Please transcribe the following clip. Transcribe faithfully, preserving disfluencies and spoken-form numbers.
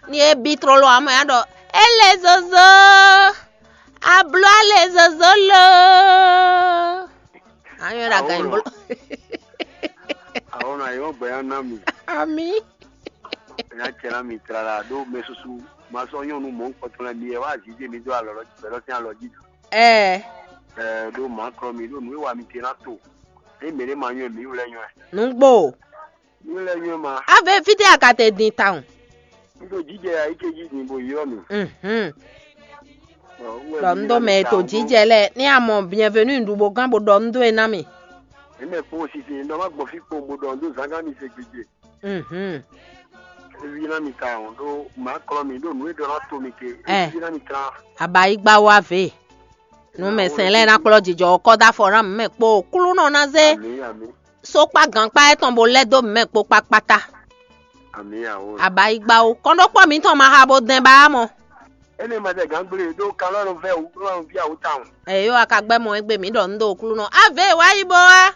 Ni e bi tlolo amɔ ya ɖɔ, ele zozo, ablo ale zozo lo. Anyɔ ɖo aga nyi blo. Awɔnɔ ayi wọ́n gbɛ ya ná mi. Ami. Nya cɛ ná mi tlala ɖó mɛ susu ma sɔ nyɔnu mɔ kpɔtɔ lɛ mi yɛ wá azizé mi dó alɔ lɔ bɛlɔ sín alɔ jí. Ɛ. Ɛ ɖó ma klɔ mi ɖó nǔ e wa mi te ná to. Eye mɛ ɖé ma nyɔ mi wlɛ nyɔ ɛ. Nǔgbó. Mi wlɛ nyɔ ma. Ave fítɛ́ a ka te din tawun? Un ɖo jijɛ ayike jí din bo ylɔ́ mi. Mhm. Ɖɔ un ɖo mɛ e to jijɛ lɛ ní a mɔ bienvenue ɖu bó gán bó ɖɔ un ɖó e ná mi. Eme kpó sisi ɖɔ má gbɔn fí kpo bó ɖɔ un ɖó zangán mi se gbedze. Mhm. Evi ná mi ta o ɖó má klɔ mi ɖó nǔ e ɖɔ ná to mi ke. Ɛ. Evi ná mi ta. Abayigba wa ve. Nú mɛ sɛn lɛ́ɛ ná kplɔ́ jijɔ ɔ́ kɔ dó afɔ ná mɛ kpo klúnɔ ná zé. Ami ami. Sókpá gǎnkpá étɔn bó lɛ́ dó mɛ kpo kpákpátá. Ami awo. Abayigba o kɔnɖókpɔ mǐtɔn ma ha bó dɛn ba mɔ. Ene ma tɛ gǎn gblé ɖó kalɔ́ nɔ vɛ wǔ kplɔ́ nɔ ví awo tawun. Ɛ yó a ka gbɛ́ mɔ égbé mǐ ɖɔ un ɖo klúnɔ. Ave wá yi bó wá.